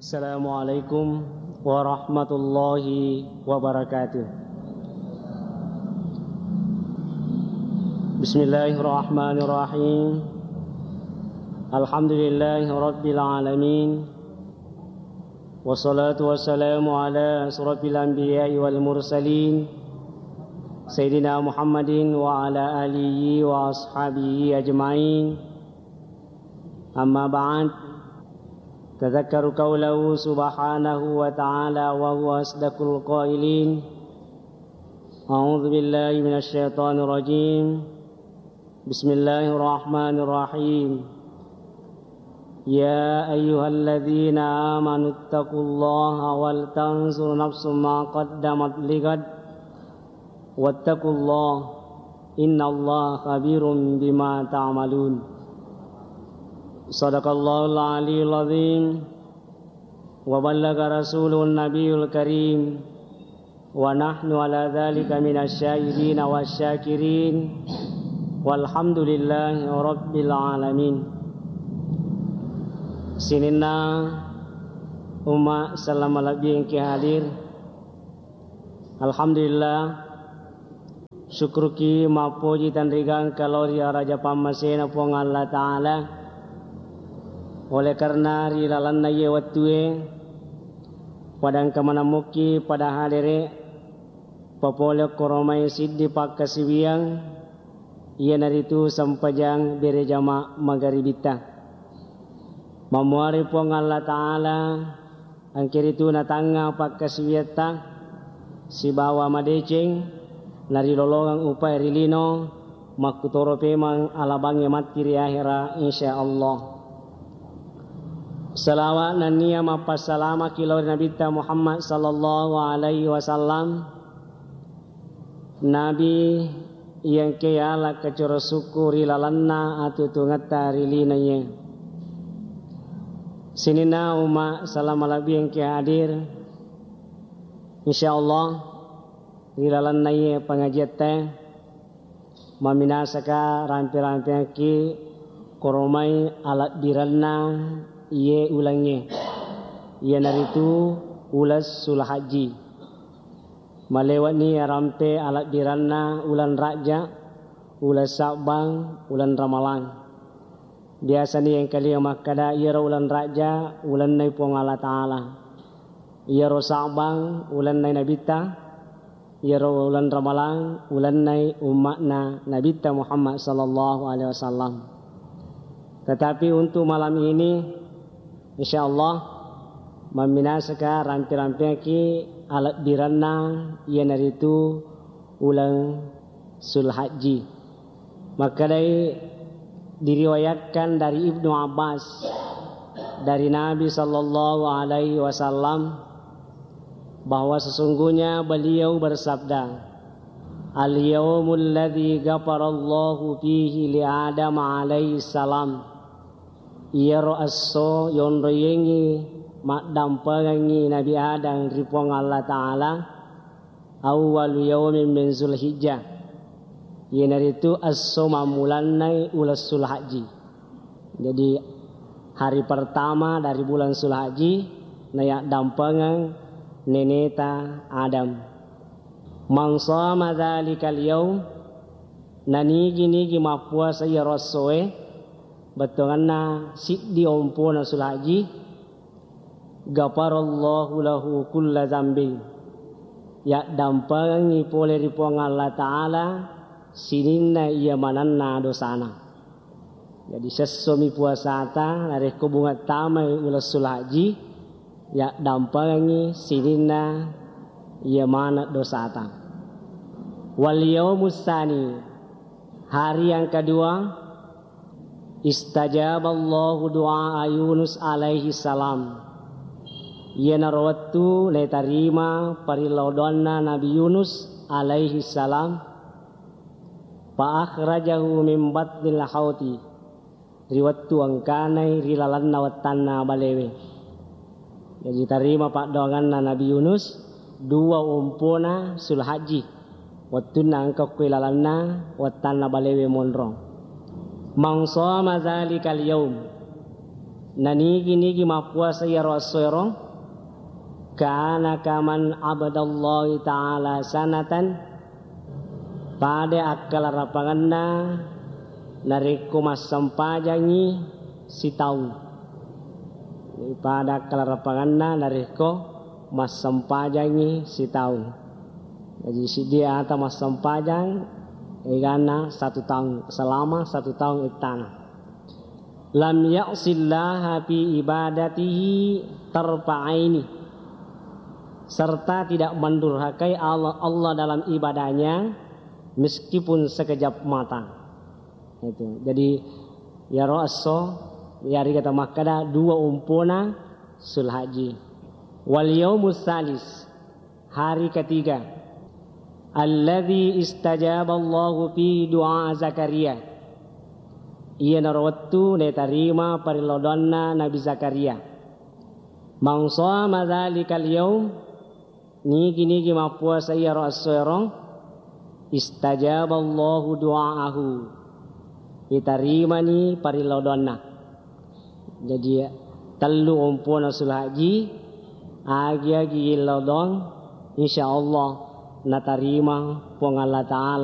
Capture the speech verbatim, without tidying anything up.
Assalamualaikum warahmatullahi wabarakatuh. Bismillahirrahmanirrahim. Alhamdulillahi rabbil alamin. Wassalatu wassalamu ala asrafil anbiya'i wal mursalin, Sayyidina Muhammadin wa ala alihi wa ashabihi ajma'in. Amma ba'd. Tadzakkaru qaulahu subhanahu wa ta'ala wa huwa asdaqul qailin. A'udzu billahi minasy syaithanir rajim. Bismillahirrahmanirrahim. Ya ayyuhalladzina amanu taqullaha wal tanzur nafsum ma qaddamat ligad. Wattaqullah, innallaha khabirum bima ta'malun. Sadaqallahul aliyul azim, wa ballaga rasuluhun nabiyul karim, wa nahnu ala dzalika minasy syahidina wasy syakirin, walhamdulillahi rabbil alamin. Sininna umma selleng malebbi engki hadir. Alhamdulillah, syukruki mappoji tanrigangka lao ri araja pammasena Puang Allah Ta'ala. Oleh karena ri lalenna iye wettue, pada engka maneng mukki pada hadere, papole koromai siddi pakkasiwiang, iyanaritu sempajang berejama magaribitta. Mammuari Puang Allah Ta'ala, engkaritu natangnga pakkasiwiatta sibawa madeceng narilolongeng upae ri lino, makkutoro pemeng alabangnge matti ri ahera, insya Allah. Salawat nennia mappassalamaki lao ri Nabitta Muhammad sallallahu alaihi wasallam, Nabi iya engkae yala kacoro sukku ri lalenna atuo-tuongetta ri lino iye. Sininna umma selleng malebbi engkae hadir, insya Allah, ri lalenna iye pengajiatta, mamminasaka rampe-rampeangki koromai alebbirenna iye ulengnge, iyanaritu uleng Sulhajji. Malewe'ni rampe alebbirenna uleng Rajja, uleng Sabbang, uleng Ramalang. Biasani engkalinga makkada, iyaro uleng Rajja ulennai Puang Allah Ta'ala, iyaro Sabbang ulennai Nabitta, iyaro uleng Ramalang ulennai umma'na Nabitta Muhammad sallallahu alaihi wasallam. Tetapi untuk malam ini, insya Allah, mamminasaka rampe-rampeangki alebbirenna iyanaritu uleng Sulhajji. Makkedai, diriwayatkan dari Ibnu Abbas, dari Nabi sallallahu alaihi wasallam, bahwa sesungguhnya beliau bersabda, "Al-yaumul ladzi ghafarallahu fihi li Adam alaihi salam." Iyaro esso yonroiyengngi maddampengengngi Nabi Adam ri Puang Allah Ta'ala, awwalu yaumin min Zulhijjah, iyanaritu esso mammulannai uleng Sulhajji. Jadi, hari pertama dari bulan Sulhajji nayaddampengeng neneta Adam. Man shoma dzalikal yaum, nanigi-nigi mappuasa iyaro essoe, bettuangenna siddi ompona Sulhajji, ghafarallahu lahu kulla dzambin, yaddampengengngi pole ri Puang Allah Ta'ala sininna iya manenna dosana. Jadi, sessomi puasata, narekko bunga tamai uleng Sulhajji, yaddampengengngi sininna iya maneng dosata. Wal yaumus tsani, hari yang kedua, istajaballahu du'a Yunus alaihi salam. Iyanaro wettu naitarima parellau doanna Nabi Yunus alaihi salam, fa akhrajahu min batnil hauti, ri wettu engkanai ri lalenna wettanna balewe. Jadi, tarima paddoanganna Nabi Yunus, dua ompona Sulhajji, wettunna engka okko lalenna wettanna balewe monro. Man shoma dzalikal yaum, Nanigi-nigi mappuasa iyaro essoero, kana kaman abadallahi ta'ala sanatan, pada akkalarapangenna narekko massempajangngi sitaung. Pada akkalarapangenna narekko massempajangngi sitaung. Jadi, siddi ata massempajang, eganna satu taung, selama satu taung ettana. Lam ya'sillaha fi ibadatihi tarfa'aini, serta tidak mendurhakai Allah, Allah dalam ibadahnya meskipun sekejap mata. Itu. Jadi, iyaro esso, iyariga tamakkada dua umpona Sulhaji. Wal yaumus salis, hari ketiga. Alladzi istajaballahu fihi du'a Zakaria. Iyanaro wettu natarima parillodoanna Nabi Zakaria. Man shoma dzalikal yaum, nigi-nigi mappuasa iyaro essoero, istajaballahu du'aahu. Itarimani parillodoanna. Jadi, tellu ompona Sulhaji, agi-agi illodong, insyaallah natarima Puang Allah Ta'ala.